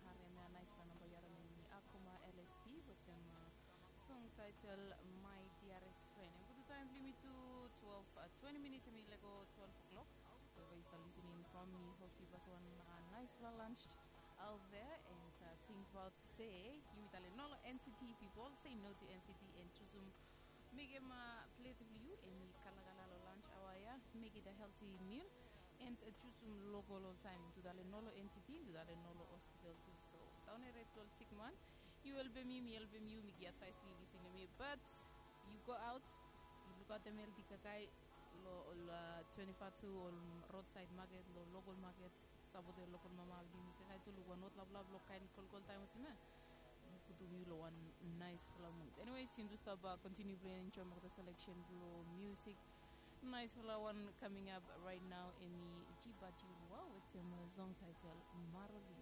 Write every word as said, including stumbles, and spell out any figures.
Harem ya naispela namba yu harem em i Akoma L S P wetem song title My Dearest Friend. Em putum taem blong yumi tu twelve, twenti minits em i lego twelve o'clock. Wherever you start listening from, mi hope yu bas wan naispela lunch out there and think about se yumi talem no long N C T people, say no to N C T and jusum mekem plate blong yu em i kalakala long lunch aoa ya, make it a healthy meal and jusum lokol oltaem. Yumi tu talem no long N C T, yumi tu talem no long hospital tu. So daon ere tu ol sikman, yu helpem mi, mi helpem yu, mi gi advaes blong yu lisin long mi, but yu go aot, yu lukaotem healthy kakae long ol twenty-four tu, ol roadside market, long lokol market, sapotem lokol mama blong yumi kakae tu, luk wan hot laplap long kaen kolkol taem olsem ya. Putum yu long wan naispela mood. Anyways, yumi tu stap kontiniu blong enjoem olgeta selection blong musik. Naispela wan coming up right now em i Jiba Jiwa wetem song title Maroli.